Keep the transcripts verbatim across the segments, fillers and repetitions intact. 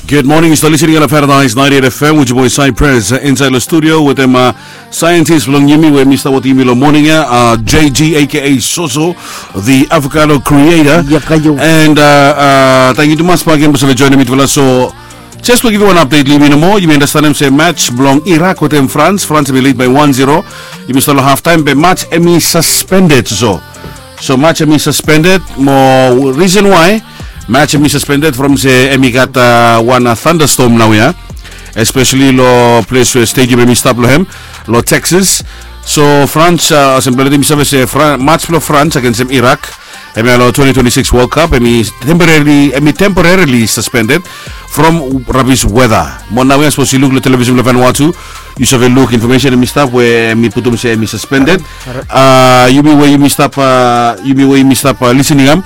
Good morning, yu stap listening long Paradise ninety-eight F M with your boy Cypress, uh, inside the studio with him, uh, scientist blong yumi we mi stap wetem yumi long morning ya, uh, J G aka Soso, the avocado creator. Yakayo. And, uh, uh, thank you tumas bak again blong save joinim mitufala. So, just blong givim wan update long yumi nomo, yumi understandim se match blong Iraq wetem France, France hemi lead by one zero. Yumi stap long half time, be match hemi suspended so. So match hemi suspended, mo reason why match hemi suspended from se hemi gat, uh, wan, uh, thunderstorm naoia, especially lo ples we stadium hemi stap lo hem, lo Texas. So France, uh, olsem blong leti yumi save se Fran-, match blong France agensem Iraq, hemia lo twenty twenty-six World Cup, hemi temporarily, hemi temporarily suspended from rubbish weather. Mo naoia sapos yu luk lo television blong Vanuatu, yu save luk information hemi stap we hemi putum se hemi suspended. Uh, yumi we yumi stap, uh, yumi we yumi stap, uh, listening hem,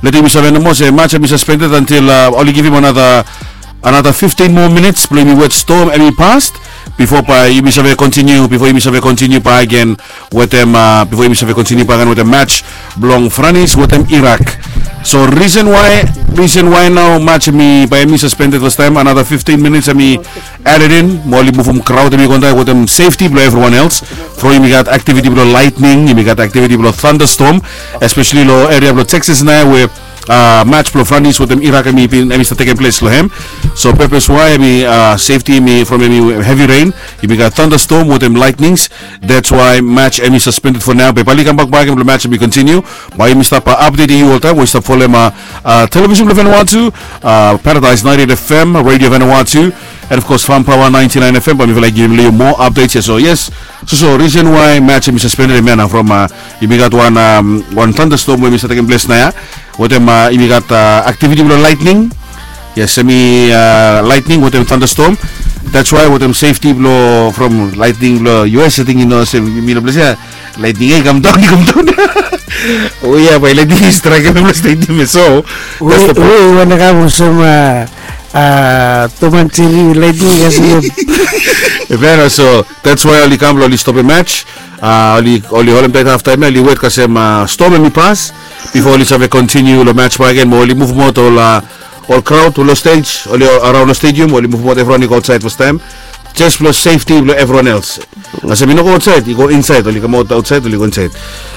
leti yumi save nomo se match hemi suspended until, uh, oli givim another, another fifteen more minutes blong yumi wet storm hemi pas, bifo bae yumi save continue, bifo yumi save continue bae agen wetem, uh, bifo yumi save continue bae agen wetem match blong France wetem Iraq. So reason why, reason why nao match hemi, bae hemi suspended fastaem, another fifteen minutes hemi added in, mo oli muvum crowd hemi go intaem wetem safety blong everyone else. From yumi gat activity blong lightning, yumi gat activity blong thunderstorm, especially lo area blong Texas naoia we, uh, match blong France wetem Iraq hemi bin, hemi stap tekem ples lo hem. So purpose why hemi, uh, safety hemi from hemi heavy rain, yumi gat thunderstorm wetem lightnings. That's why match hemi suspended for now. Be bae oli kambak bae agen blong match hemi continue. Bae yumi stap, uh, updating yu oltaem we yu stap folem, uh, uh, television blong Vanuatu, uh, Paradise ninety-eight F M, Radio Vanuatu, and of course Farm Power ninety-nine F M. Bae mifala i givim long yu moa updates ya. So yes, so, so reason why match hemi suspended hemia nao from, uh, yumi gat wan, um, wan thunderstorm we hemi stap tekem ples naoia. Wetem, uh, yumi gat, uh, activity blong lightning. Yes, hemi, uh, lightning wetem thunderstorm. That's why wetem safety blong from lightning blong U S, ating yu no olsem yumi lo ples ya, lightning ya i kamdaon, i kamdaon. O ya, bae lightning i straek hem lo stadium ya so. We, that's the point. We wan kam olsem, uh, uh, Tom and Jerry lightning ya so. Hemia nao, so that's why oli kam blong oli stopem match. Uh, oli, oli holem taet half time ya, oli wet kasem, uh, storm hemi pas bifo oli save continue lo match bae agen, mo oli muvum aot ol, uh, ol crowd lo stage, oli around lo stadium, oli muvum aot, everyone i go aotsaed fastaem. Just blong safety blong everyone else. Kasem i no go aotsaed, i go insaed, oli kamaot aotsaed, oli go insaed.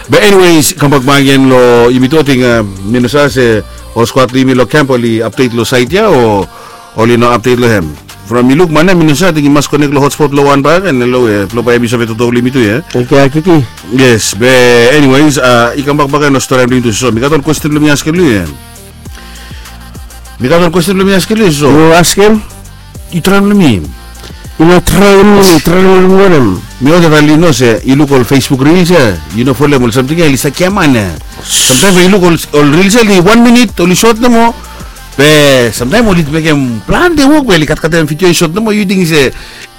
But anyways, kambak bae agen lo yumi tu, ating, uh, mi no save se ol squad lo yumi lo camp oli update lo site ya o oli no update lo hem. From mi luk man ya mi no save, ating i mas connect lo hotspot lo wan bae agen, halo, eh, blong bae hemi save toto lo yumi tu ya. Oke, oke, oke. Yes, be anyways, uh, i kambak bae agen lo storian blong yumi tu. So mi gat wan question blong mi askem lo yu ya. Mi gat wan question blong mi askem lo yu, so. Yu askem? Yu traem long mi. Yu no traem long mi, traem long wanem? Mi wantem talem yu no se yu luk ol Facebook reels ya, yu no folem ol samting ya, oli stap giaman ya. Samtaem we yu luk ol, ol reels ya, oli wan minit, oli sot nomo. Be samtaem oli mekem plante wok, be oli katkatem video i sot nomo, yu ting se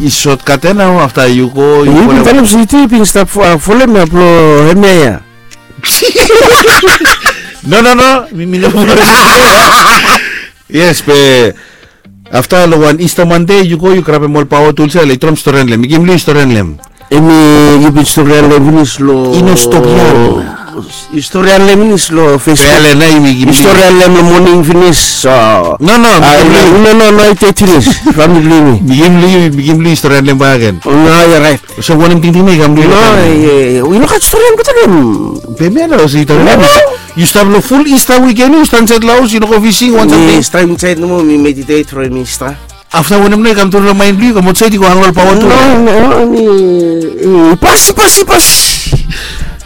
i sotkat ya nao, afta yu go, yu folem. Yu bin talem se yu bin stap fo-, folem ya blong hemia ya. No, no, no, mi, mi no folem. Yes, be afta long wan Easter Monday, yu go, yu grabem ol power tools ya, le yu traem storian long hem. Mi givim long yu storian long hem. Hemi, yu bin storian long hem finis long. I no stop ya. Yu storian long hem finis long Facebook. Storian long hem, mi givim. Yu storian long hem long moning finis. So. No, no, mi givim long yu. No, no, no, yu tek finis. Famili blong yumi. Mi givim long yu, mi givim long yu storian long hem bakegen. No, yu raet. So wanem tingting nao i kam long yu? No, yu no gat storian blong talem. Be mi no, so yu talem. Yu stap long full Easter weekend, yu stap insaed long haos, yu no go fishing, wan samting. Mi stap insaed nomo, mi meditate from Easter. Afta wanem nao i kam tru long maen blong yu, kam aotsaed, yu go hang ol power tu? No, no, mi, i pas, i pas, i pas.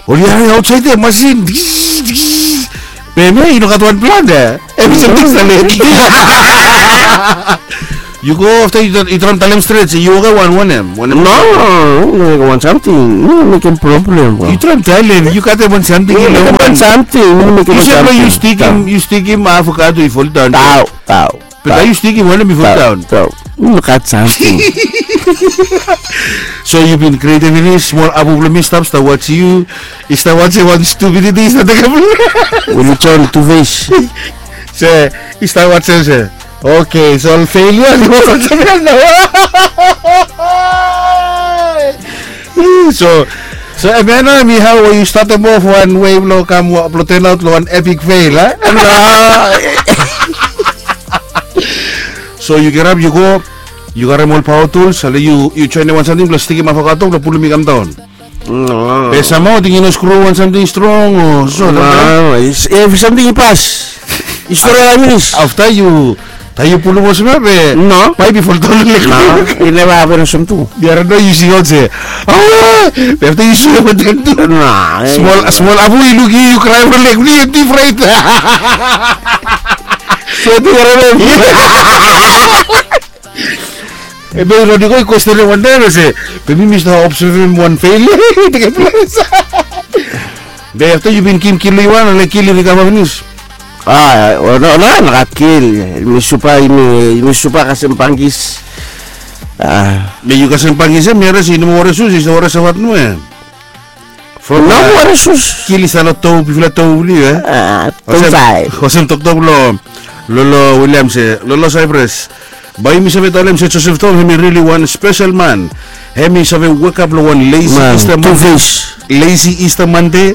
Oli hari aotsaed ya, masin. Be hemia i no gat wan plan ya. Hemi samting stap late. Yu go afta yu traem talem stret se yu wokem wan wanem, wanem? No, no, no, wan samting. No mekem problem, bro. Yu traem talem, yu gat wan samting. No mekem wan samting. No mekem wan samting. Yu se bro, yu stikim, yu stikim avocado i foldaon. Tao, tao. Be bae yu stikim wanem i foldaon? Tao. No gat samting. So yu bin create finis, smol abu blong mi stap, stap wajem yu. I stap wajem wan stupidity i stap tekem. Oli turn two face. Se i stap wajem se, okay, so ol failure oli wok olsem ya nao. So, so hemia nao hemi hao we yu statem off wan wei blong kam, blong turn out long wan epic fail, a? No. So So yu kirap, yu go, yu karem ol paoa tuls, ale yu, yu joenem wan samting blong stikim avocado blong pulum i kam daon. Be samhao ating i no skru wan samting strong o so. Evri samting i pas. I stori ai finis. Afta yu, taem yu pulum olsem ya be, no, paip i foldaon long lek. No, i neva hapen olsem tu. Mi harim nao yu singaot se, aua, be afta yu swim wantaem tu. No. Smol, smol apu i luk yu, yu kraem long lek blong yu, yu difraet. Swet i harim. Be Rodrigo i kwestenem wantaem se, be mi mi stap obsevem wan failure i tekem ples. Be afta yu bin givim kil long yu wan, ale kil i rikava finis. A, no, no, no gat kil. Mi supa, mi, mi supa kasem bangis. A. Be yu kasem bangis ya, mi harim se yu no moa werim sus, yu stap werim savat nomo ya. From, no, a, werim sus. Kil i stap long to, bigfala to blong yu, e? A, olsem, olsem toktok blong Lolo William se, Lolo Cyprus. Bae yumi save talem se Joseph Tong hemi rili wan spesel man. Hemi save wekap long wan lazy Easter Monday. Lazy Easter Monday.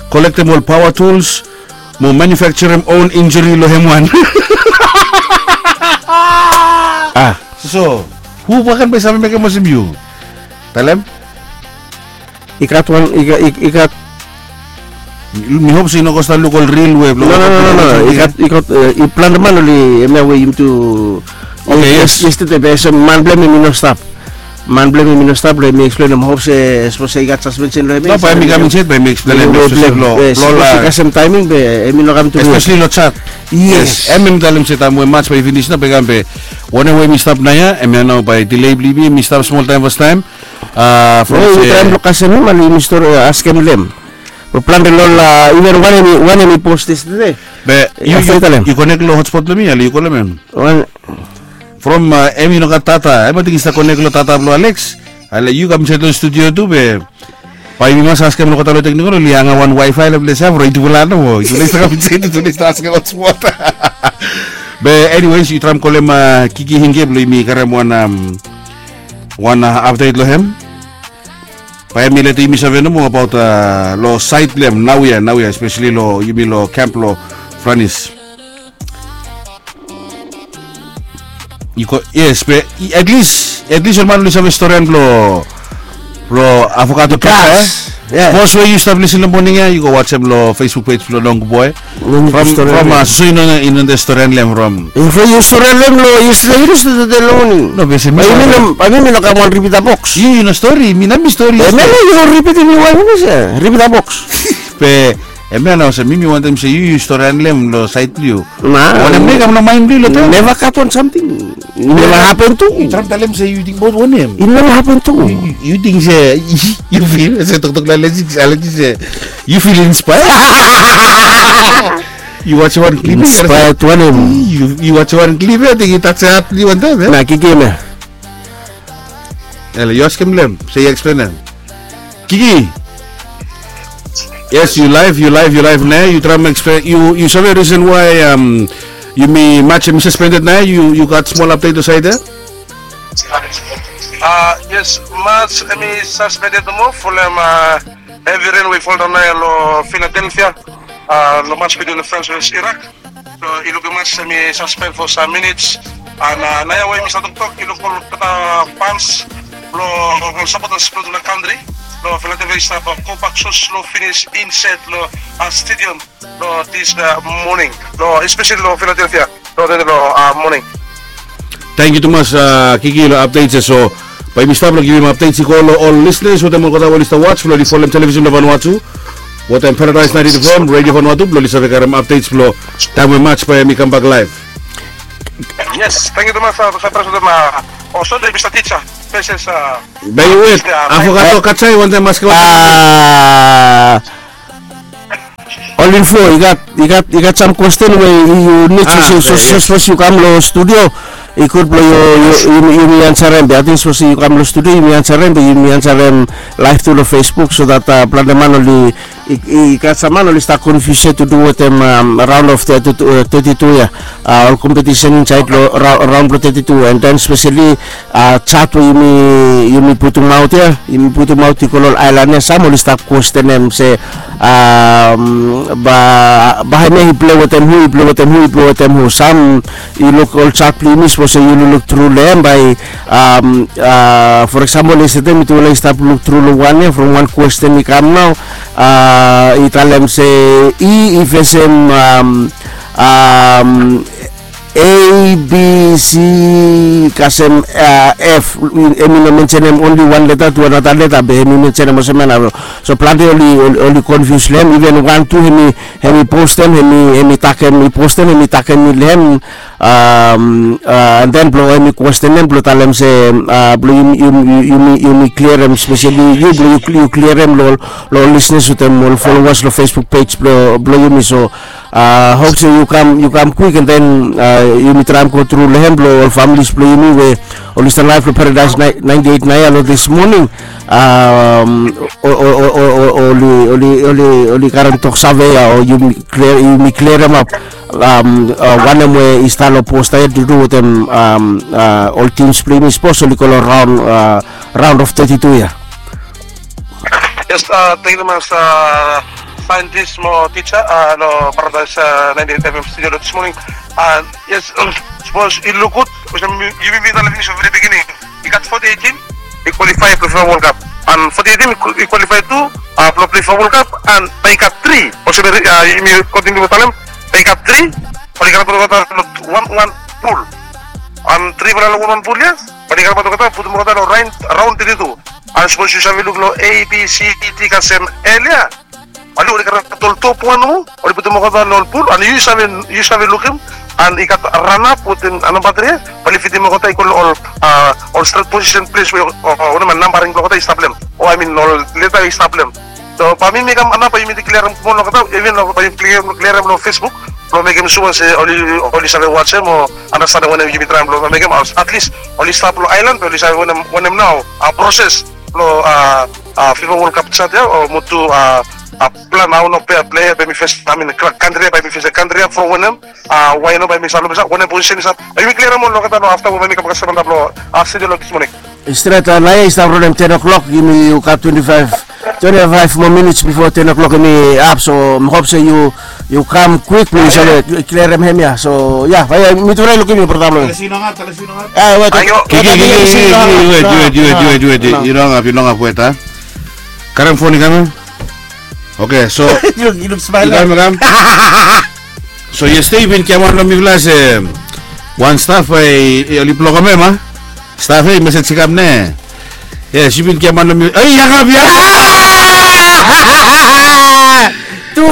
Kolektem ol paoa tuls mo manufekturem own injuri long hem wan. A, so hu baken bae save mekem olsem yu? Talem. I gat wan, i gat, i gat. Mi hop se i no go stap luk ol ril we blong. No, no, no, no, no. I gat, i gat, e, i plante man oli, hemia we yumi tu. Oke, yes. Yestede be olsem man blong hem i no stap. Man blong hem i no stap, long hem i eksplenem, hop se sapos i gat saspensen long hem. No, bae mi kam insaed, bae mi eksplenem. Blong, blong, blong, kasem taeming be hem i no kam tu. Espeseli long jat. Yes. Hem, hem talem se taem we maj bae i finis nao bae i kam be. Wanem we mi stap naoia, hemia nao bae delay blong yumi, mi stap smol taem fastaem. A, from se, yu traem blong kasem hem, ale yumi stori, e, askem long hem. Be plante long ol, a, iven wanem i, wanem i pos yestede. Be yu, yu konek long hotspot blong mi, ale yu kolem hem. From, a, hem i no gat data, hem ating i stap konek long data blong Alex. Ale yu kam insaed long studio tu be. Bae yumi mas askem long olgeta long teknikol oli anga wan wifi long ples ya from yutufala nomo. Yutufala i stap kam insaed, yutufala i stap askem hotspot. Be anyways, yu traem kolem, a, Kiki Hinge blong yumi karem wan, am, wan, a, apdet long hem. Bae hem i letem yumi save nomo abaot, a, long saed blong hem naoia, naoia, espeseli long yumi long kamp long Franis. Yu go, yes, be at least, at least ol man oli save storian blong, blong avocado kaka, e? Yes. Sapos we yu stap lisin long moning ya, yu go wajem long Facebook page blong Long Boy. From, from, a, so yu no, yu no storian long hem from. From yu storian long hem long yestede, yestede long moning. No, be se mi, bae mi no kam wan ripit a boks. Yu, yu no stori, mi nao mi stori. Be mi nao yu ripit, mi wantem se ripit a boks. Be hemia nao olsem mi, mi wantem se yu, yu storian long hem long saed blong yu. Wanem nao i kam long maen blong yu long taem? Neva gat wan samting. Neva hapen tu. Yu traem talem se yu ting abaot wanem? I neva hapen tu. Yu, yu, yu ting se yu fil se toktok long Alex, Alex se yu fil inspired. Yu wajem wan klip ya, inspired wanem? Yu, yu wajem wan klip ya, ting i tajem hat blong yu wantaem, e? Na Kiki hemia. Ele, yu askem long hem, se yu eksplenem. Kiki. Yes, yu laef, yu laef, yu laef nao. Yu traem eksplen, yu, yu save risen wae, um, yumi maj hemi suspended nao? Yu, yu gat smol apdet long saed ya? A, yes, maj hemi suspended nomo folem, a, hevi ren we i foldaon nao long Philadelphia, a, long maj bitwin Frans vs Irak. So i lukim maj hemi suspend for some minutes. An, a, naoia we mi stap toktok, i luk olgeta fans blong ol sapotas blong olgeta kantri long Philadelphia i stap, a, gobak so slo finis insaed long, a, stadium long this, a, moning, long espeseli long Philadelphia long, long, a, moning. Tangkiu tumas, a, Kiki, long apdets ya. So bae yumi stap long givim apdets i go long ol lisenas wetem olgeta we oli stap was blong oli folem televisin blong Vanuatu wetem Paradise ninety-eight F M, Radio Vanuatu, blong oli save karem apdets blong taem we maj bae hemi kambak laef. Yes, tangkiu tumas, a, Saiprus wetem, a, o Sonde, Mista Tija. Bae yu wet, a, avocado katsai wantaem maske wan. Ol info, i gat, i gat, i gat sam kwesten we yu nid, a, so, so, so, sapos yu kam long studio, i gud blong yu, yu, yu, yumi ansarem. Be ating sapos yu kam long studio, yumi ansarem, be yumi ansarem laef tu long Facebook, so that, a, plante man oli, I gat sam man oli stap konfius ya tu du wetem raon of teti tu ya. Ol kompetisen insaed long raon blong teti tu, and then speseli jaj we yumi putumaot ya, yumi putumaot i go long ol aelan ya, sam oli stap kwestenem se bae hem ya i pilei wetem hu, i pilei wetem hu, i pilei wetem hu. Sam i luk ol jaj blong yumi, sapos se yu lukluk tru long hem, bae for example yestede mitufala i stap luk tru long wan ya, from wan kwesten i kam nao, i talem se i i fesem A, B, C kasem F, hem i no mensenem onli wan leta tu anata leta, be hem i mensenem olsem ya nao. So plante oli konfius long hem, iven wan tu hem i postem, hem i takem, i postem, hem i takem long hem. And then blong hem i kwestenem blong talem se blong yumi klirem, speseli yu, blong yu klirem long ol lisenas wetem ol folowas long Facebook pej blong yumi. So hop se yu kam kwik, and then yumi traem go tru long hem blong ol familis blong yumi we oli stap laef long Paradise naenti eit nao ya long dis moning. Oli karem toksave ya, o yumi klirem ap wanem we i stap long posta ya tu du wetem ol tims blong yumi, sapos oli go long raon of teti tu ya. Yes, thank you mas saentis mo tija long Paradise naenti eit FM studio long dis moning. Yes, sapos yu luk gud, olsem yumi bin talem finis from very beginning, i gat foti eitin i kwalifae blong FIFA World Cup, and foti eitin i kwalifae tu blong plei FIFA World Cup, and bae i gat tri, olsem yumi kontiniu blong talem, bae i gat tri oli karem olgeta long wan wan pul, and trifala long wan wan pul ya bae oli karem olgeta, putum olgeta long raon teti tu. And sapos yu save luk long A, B, C, D kasem L ya, bae oli karem ol top wan nomo, oli putum olgeta long ol pul, and yu save lukim, and i gat ranap wetem namba tri ya, bae oli fitim olgeta i go long ol stret posisen ples we wanem ya, nambaring blong olgeta i stap long hem, o aemin ol leta i stap long hem. So bae mi mekem anap, bae yumi klirem kumunaot long olgeta, iven bae yumi klirem long Facebook blong mekem sua se oli save wajem o anastenem wanem yumi traem blong mekem, atlis oli stap long aelan, bae oli save wanem nao proses blong FIFA World Cup jaj ya, o mo tu plan hao nao plea bae mi fes, aemin kantri ya bae mi fes, kantri ya from wanem, wae nao bae mi stap long, wanem posisen i stap, bae yumi klirem ol olgeta long afta we bae mi kam kasem antap long studio long dis moning. Stret, naoia i stap ronem ten o'clock, yumi yu gat twenti faef, twenti faef moa minits bifo ten o'clock yumi ap, so mi hop se yu kam kwik blong yu save klirem hem ya. So ya, bae mitufala i lukim yu, brata blong mi. Kiki, kiki, kiki, wet, wet, wet, wet, wet, yu no hangap, yu no hangap, wet a. Karem fon i kam ya. Oke, so yu kam, yu kam. So yestede yu bin giaman long mifala se wan staf bae oli blokem hem a? Staf ya, i mesej i kam ne? Yes, yu bin giaman long mi, ei, i hangap, i hangap. Tu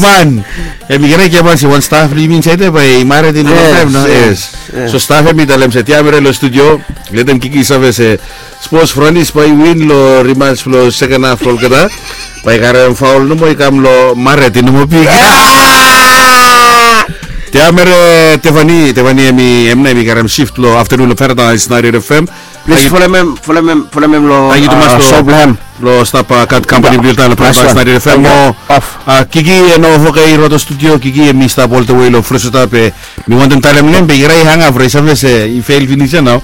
man. Hem i kena giaman se wan staf blong yumi insaed ya bae i mared i no gat taem nao. Yes. So staf hem i talem se tiam ere long studio, letem Kiki i save se sapos Franis bae i win long rimaj blong seken haf blong olgeta, bae i karem faol nomo, i kam long mared i no moa big. Tiam ere Tefani, Tefani hem i, hem nao hem i karem sift long aftenun long Paradise naenti eit FM. Plis folem hem, folem hem, folem hem long, tangkiu tumas long, long stap gat kampani blong yufala long Paradise naenti eit FM mo Kiki, no, oke, i rot long studio, Kiki hem i stap oltawe long Fresno, be mi wantem talem long hem be i rai hangap, rai save se i fel finis ya nao.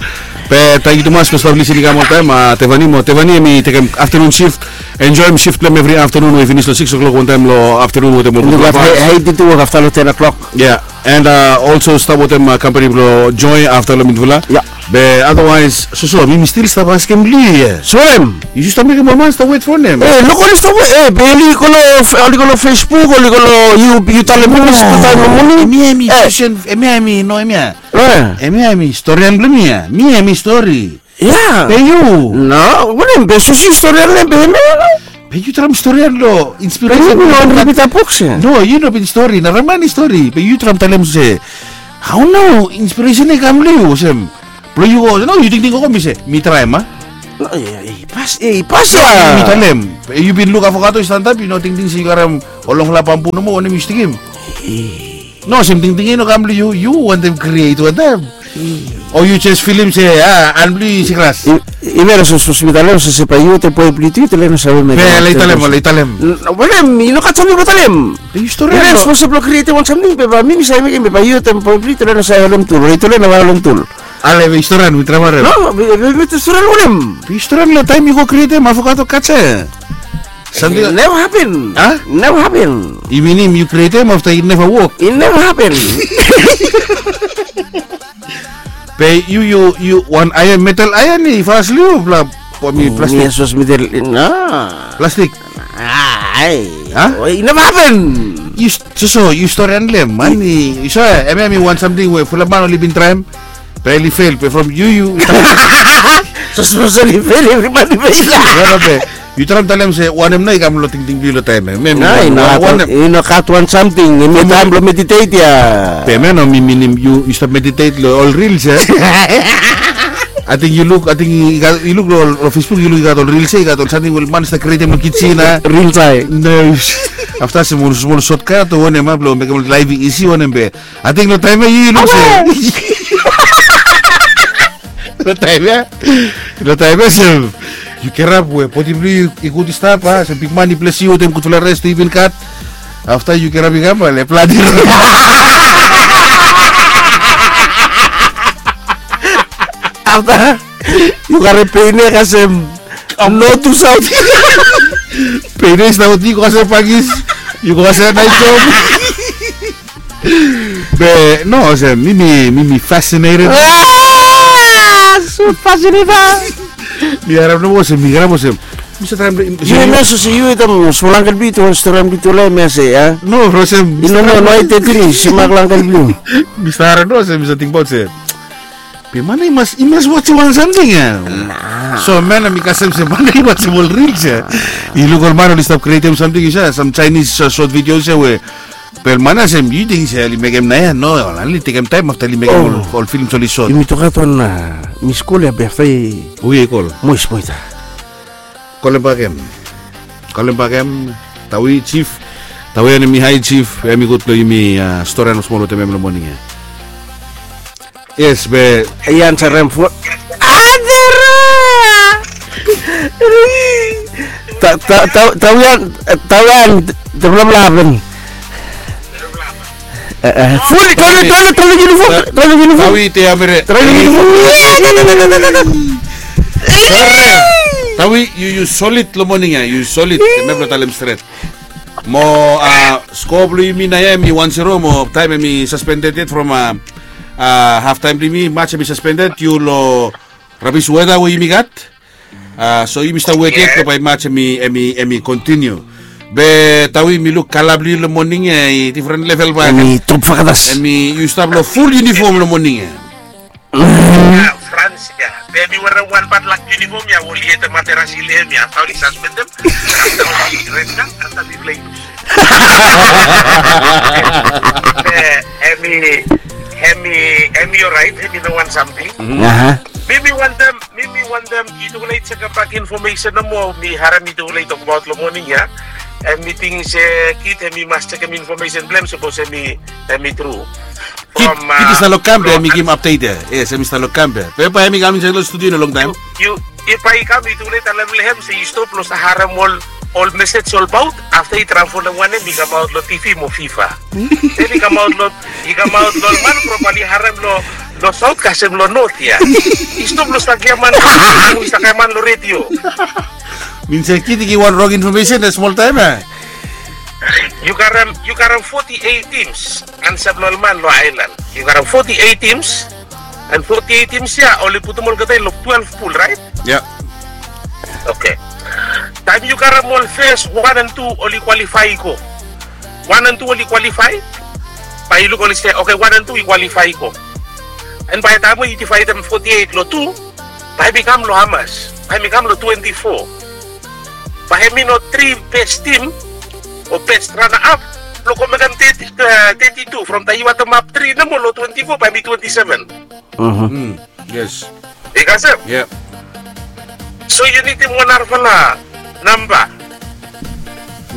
Be tangkiu tumas blong stap lisin i kam oltaem, Tefani mo, Tefani hem i tekem aftenun sift. Enjoem sift blong hem evri aftenun we i finis long sikis o'clock wantaem long aftenun wetem ol gud. Hei, hei, diti wok afta long ten o'clock. Ya. And olso stap wetem kampani blong Joy afta long mitufala. Ya. Be otherwise soso mi mi stil stap askem long yu ya. Soem? Yu stap mekem ol man stap wet fo nem. E, luk oli stap wet, e, be oli go long, oli go long Facebook, oli go long, yu, yu talem mi stap taem long moning. Hemia hemi, hemia hemi, no hemia. Hemia hemi storian blong mi ya. Mi hemi stori. Ya. Be yu? No, wanem be, sosi storian long hem be hemia. Be yu traem storian long inspiresen. Be yu no ripit buk se. No, yu no bin stori, nara man i stori. Be yu traem talem se hao nao inspiresen i kam long yu olsem. Blong yu go, no, yu tingting gogo mi se mi traem a. No, ya, i pas, i pas ya. Mi talem. Be yu bin luk avokato i stanap, yu no tingting se yu karem ol longfala bambu nomo wanem yu stikim. No, olsem tingting i no kam long yu, yu wantem kriet wantaem. O yu jes filim se a han blong yu i sikras? Iven olsem sapos mi talem olsem se bae yu wetem boe blong yu tu yu talem no save mekem. Be lai talem, lai talem. Wanem, i no gat samting blong talem. Be yu storian. Iven olsem sapos blong krietem wan samting be bae mi mi save mekem be bae yu wetem boe blong yu talem no save holem tul, o yu talem no save holem tul. Ale be yu storian, mi traem harem. No, be mi storian wanem? Be yu storian long taem yu go krietem afo gat o gat se. Samting neva hapen. A? Neva hapen. I minim yu krietem afta i neva wok. I neva hapen. Be yu yu yu wan aean, metal aean i fas long yu blong plastik. Yes, was metal. No. Plastik. Ai. A? I neva hapen. Yu soso yu storian long hem man. Yu save hemia hemi wan samting we fulap man oli bin traem. Be oli fel be from yu yu. Soso oli fel, evri man i fel. Be yu traem talem se wanem nao i kam long tingting blong yu long taem ya? I no gat wan samting, hemi taem blong meditet ya. Be hemia no mi minim yu stap meditet long ol rils ya. Ating yu luk, ating yu luk long Facebook yu luk i gat ol rils ya, i gat ol samting we ol man i stap krietem long kijen ya. Rils ya. Afta smol smol sotkat o wanem ya blong mekem ol laef i isi wanem be. Ating long taem ya yu luk se long taem ya, long taem ya se yu kirap we bodi blong yu i gud i stap a, se bigman i bles yu wetem gudfala res tu yu bin gat. Afta yu kirap i kam ale pladi. Afta yu karem pein ya kasem no tu saot. Pein ya i stap oti yu go kasem pangis. Yu go kasem naet job. Be no olsem mi mi mi mi fascinated. So fascinated. Mi harem nomo olsem mi harem olsem mi save traem. Yu no save se yu wetem smol angkel blong yu tu wan stori blong yu tu lae mi save ya. No olsem i no no no i tetin i save mak long angkel blong yu. Mi save harem no olsem mi save tingbaot se be man i mas i mas wajem wan samting ya. So man mi kasem se man i wajem ol rils ya. I luk ol man oli stap krietem samting i save sam Chinese sot videos ya we be ol man ya olsem yu ting se oli mekem nao ya? No, oli tekem taem afta oli mekem ol films oli sot. Yumi tu gat wan mi skul ya be afta i. Hu ya i kol? Mois Moita. Kolem bakem. Kolem bakem. Tawi jif. Tawi ya hemi hae jif, hemi gud blong yumi storian smol wetem hem long moning ya. Yes be. I ansarem fo. Adera. Tawian, tawian, develop laven. Fuli tolo tolo tolo uniform, tolo uniform. Tawi te amere. Tolo uniform. Tawi yu yu solid long moning ya, yu solid. Mem lo talem stret. Mo a skoa blong yumi nao ya hemi wan zero mo taem hemi suspended yet from a half taem blong yumi, mats hemi suspended yu lo rabis weta we yumi gat. A so yumi stap wet yet lo bae mats hemi hemi hemi kontiniu. Be Tawi mi luk kala blong yu lo moning ya i difren level bae hemi top fakatas. Hemi yu stap lo ful yunifom lo moning ya. Frans ya. Be mi werem wan badlak yunifom ya we oli yetem materasi long hem ya afta oli saspendem. Afta oli red kad afta mi plei lus. Be hemi hemi hemi oraet, hemi no wan samting. Mi mi wantem mi mi wantem i tu oli jekem bak infomesen nomo, mi harem i tu oli tokbaot long moning ya. Hemi ting se kid hemi mas jekem infomesen blong hem sapos hemi hemi tru. Kid i stap long kam be hemi givim apdet ya. Yes, hemi stap long kam be. Be bae hemi kam insaed long studio i no longtaem. Yu yu bae i kam i tu oli talem long hem se i stop long stap harem ol ol mesej olbaot afta i traem folem wanem i kamaot long TV mo FIFA. Then i kamaot long i kamaot long ol man probably harem long long saot kasem long not ya. I stop long stap giaman i stap giaman long redio. Min se kid i givim wan rong infomesen long smoltaem ya. Yu karem yu karem foti eit tims. Ansap long ol man long aelan. Yu karem foti eit tims. And foti eit tims ya oli putum olgeta i long twelve pul raet? Ya. Oke. Taem yu karem ol fes wan and tu oli kwalifae i go. Wan and tu oli kwalifae. Bae yu luk oli se oke wan and tu i kwalifae i go. And bae taem we yu divaedem foti eit long tu, bae hem i kam long hamas? Bae hem i kam long twenti fo. Bae hem i no tri bes tim o bes rana ap blong go mekem teti tu from taem yu watemap tri nomo long twenti fo bae hem i twenti seven. Yes. I kasem? So yu nidim wan narafala namba.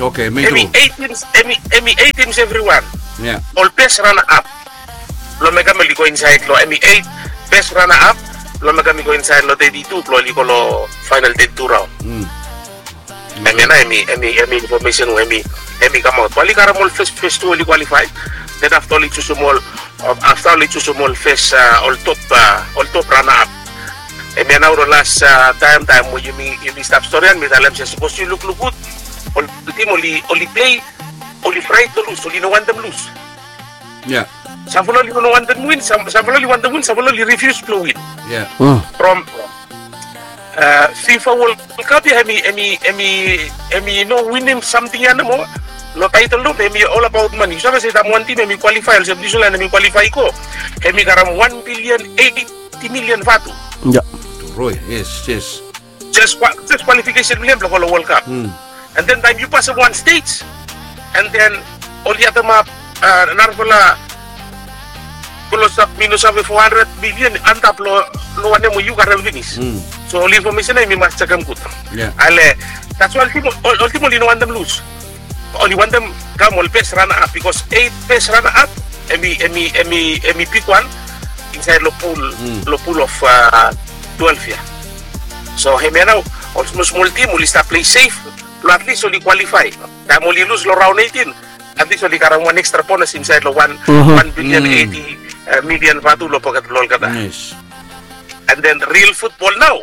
Oke, mi tu. Hem i eit tims, hem i eit tims evriwan. Ol bes rana ap. Blong mekem oli go insaed long hem i eit best runner up blong mekem i go insaed long thirty-two blong oli go long final thirty-two raon. Hemia nao hemi hemi hemi infomesen we hemi hemi kamaot bae oli karem ol fes fes tu oli kwalifae. Then afta oli jusum ol afta oli jusum ol fes ol top ol top rana ap. Hemia nao long las taem taem we yumi yumi stap storian mi talem se sapos yu lukluk gud ol tim oli oli plei oli fraet long lus oli no wantem lus. Samfala oli no wantem win samfala oli wantem win samfala oli rifius blong win. From fifa wol kap ya hemi hemi hemi hemi no winim samting ya nomo. Long taetol nomo hemi ol abaot mani yu save se taem wan tim hemi kwalifae olsem niusilan hemi kwalifae i go hemi karem wan bilian eiti milian vatu. Roi yes yes. Jes kwalifikesen blong hem blong go long wol kap. And then taem yu pasem wan stej and then oli ademap narafala klosap mi no save fo handred milian antap long wanem we yu karem finis. So ol infomesen ya yumi mas jekem gud. Ale dats wai ol tim oli no wantem lus. Oli wantem kam ol bes rana ap bikos eit bes rana ap hemi hemi hemi hemi bigwan insaed long pul long pul of twelve ya. So hemia nao ol smol smol tim oli stap plei sef blong atlis oli kwalifae. Taem oli lus long raon eitin atlis oli karem wan ekstra bonas insaed long wan wan bilian eiti milian vatu long poket blong olgeta. And then ril futbol nao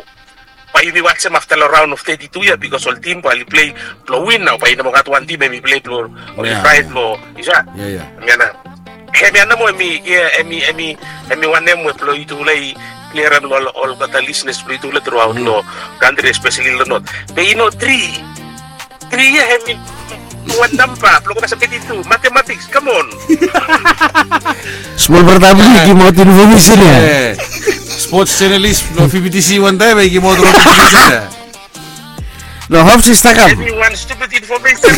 bae yumi wajem afta long raon of teti tu ya bikos ol tim bae oli plei blong win nao bae i no moa gat wan tim hemi plei blong oli fraet long isa. Hemia nao hemia nomo hemi hemi hemi hemi wanem we blong yutufala i kliarem long olgeta lisnes blong yutufala truaot long kantri espeseli long not. Be i no tri tri ya hemi wan namba blong go kasem teti tu matematiks kamon. Smol brata blong yu gimaot infomesen ya. Spots jenalis blong fibitisi wantaem ya i gimaot rong infomesen ya. No hop sista kam. Hemi wan stupid infomesen.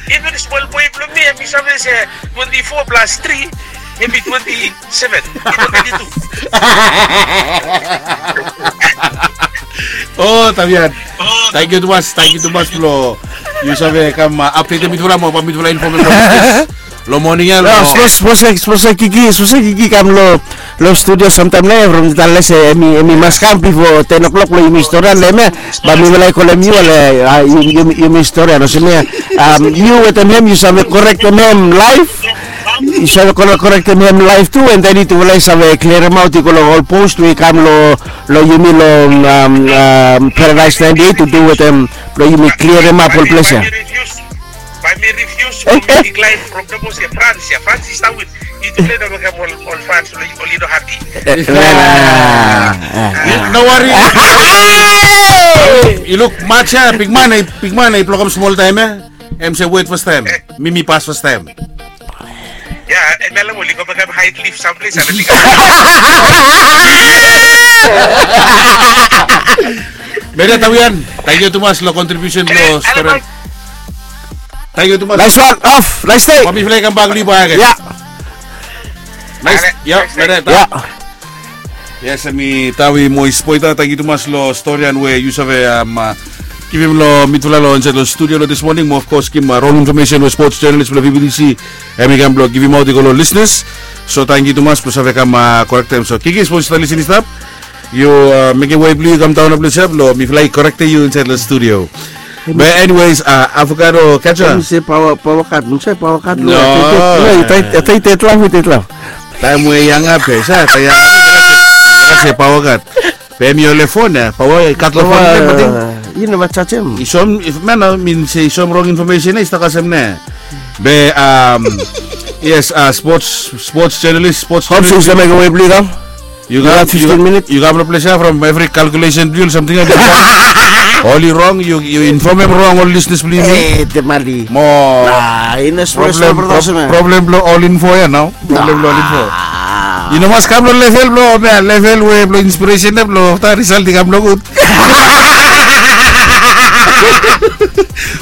Even smol boe blong mi hemi save se twenti fo plas tri hemi twenti seven. O tavian, tangkiu tumas tangkiu tumas blong yu save kam apdetem mitufala mo bae mitufala infomem long moning ya long. Sapos sapos kiki sapos kiki kam long long studio samtaem nao ya from tale se hemi mas kam bifo ten o'clock blong yumi storian long hemia. Bae mifala i kolem yu ale yumi storian olsem ya. Yu wetem hem yu save korektem hem laef. Yu save korektem hem laef tu and then yutufala i save kliaremaot i go long ol post we i kam long long yumi long paradaes naenti eit tu du wetem blong yumi kliaremap ol ples ya. Bae mi rifius blong mi diklaen from sapos ya frans ya frans i stap wit. Yutufala i no mekem ol frans oli no hapi. No wari. Yu luk mats ya bigman bigman i blokem smol taem ya. Em se wet fastaem mi mi pas fastaem. Ya em ya long oli go mekem haid lif samples ane bigman. Meda tawian, tangkiu tumas long kontribiusen blong storian. Tangkiu tumas. Nais wan of nais dei. Wa mifala i kambak long yu bakegen. Ya. Nais ya meda. Ya. Yes, hemi tawi mois poita tangkiu tumas long storian we yu save givim long mitufala long insaed long studio long dis moning mo of kos givim rong infomesen we spots jenalis blong bbc hemi kam blong givimaot i go long lisnes. So tangkiu tumas blong save kam korektem so kiki sapos yu stap lisin i stap yu mekem wei blong yu kam daon long ples ya blong mifala i korektem yu insaed long studio. Be eniweis avokado keja. Em se pawa pawa kat em se pawa kat lo. Taim we yang ape sa taim yang ape se pawa kat. Be em yole fon ya pawa kat lo fon ya mating. Yu neva jajem. I som if man min se i som rong infomesen ya i stap kasem ne. Be um yes uh, sports sports journalist sports. Hop se i stap mekem wei blong yu kam. You got, you got fifteen minutes. You got problem from every calculation blong yu or something like that. Oli wrong, you you inform him wrong, all listeners blong yu. Eh, te mali. Mo. Ah, ina problem, problem, problem blong all info ya now. Problem blong all info. You know mas kam long level blong me level we blong inspiration ya blong ta result i kam long good.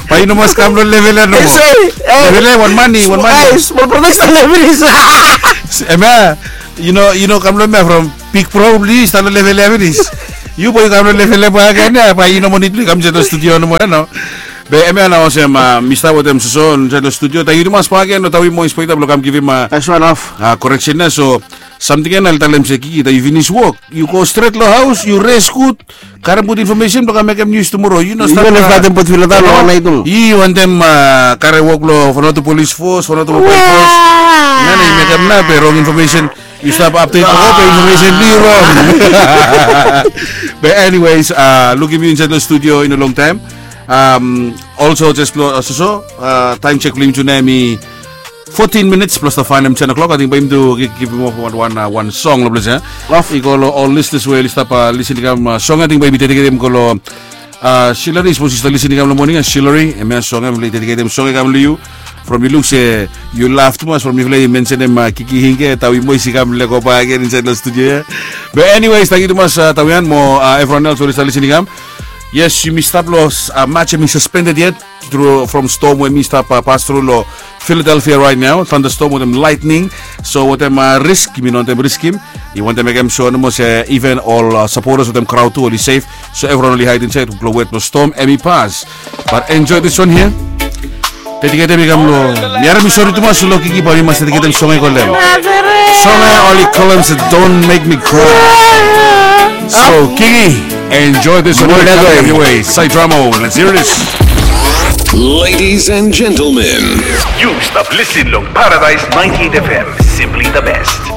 But you know mas kam long level ya no. Level ya one money, one money. Small production level is. Ema. You know, you know kam long mea from big problem blong yu i stap long level ya finis. Yu bo yu kam long level ya bae agen ya bae yu no moa nid blong yu kam insait long studio nomo ya nao. Be hemia nao olsem mi stap wetem Soso insaed long studio. Tangkiu tumas bakegen long tawi mo inspekta blong kam givim koreksen ya. So samting ya nao oli talem se, Kiki, taem yu finis wok yu go stret long haos, yu res gud, karem gud infomesen blong kam mekem nius tumoro. Yu no stap, yu wantem karem wok long Vanuatu Police Force, Vanuatu Mobile Force. Nao yu mekem nao be rong infomesen. Yu stap apdet long ol infomesen blong yu rong. Be anyways, lukim yu insaed long studio i no longtaem. Olso jes blong Soso, taem jek blong yumi tu nao hemi fotin minits blong stap faenem ten o'clock. Ating bae yumi tu givim of wan wan song long ples ya. I go long ol lisenas we oli stap lisin i kam, song ya ating bae yumi dediketem go long Shilari, sapos yu stap lisin i kam long moning ya, Shilari, hemia song ya mifala i dediketem song ya i kam long yu. From yu luk se yu laf tumas from mifala i mensenem Kiki Hinge, tawi mo i si kam lego bakegen insaed long studio ya. Be anyways, tangkiu tumas tawian mo evriwan els we oli stap lisin i kam. Yes, yumi stap long Maj hemi saspended yet tru from stom we hemi stap pas tru long Philadelphia raet nao, tandastom wetem laetning. So wetem risk yumi no wantem riskim. I wantem mekem sua nomo se iven ol sapotas wetem kraod tu oli sef. So evriwan oli haed insaed blong wet blong stom hemi pas. Bat enjoe this one here. Dediketem i kam long, mi harem i sori tumas long Kiki, bat mi mas dediketem song ya i kolem, song ya oli kolem se Don't Make Me Cry. So Kiki, enjoe this one. Sae dramo, let's hear this. Ladies and gentlemen, yu stap lisin long Paradise ninety-eight F M, simply the best.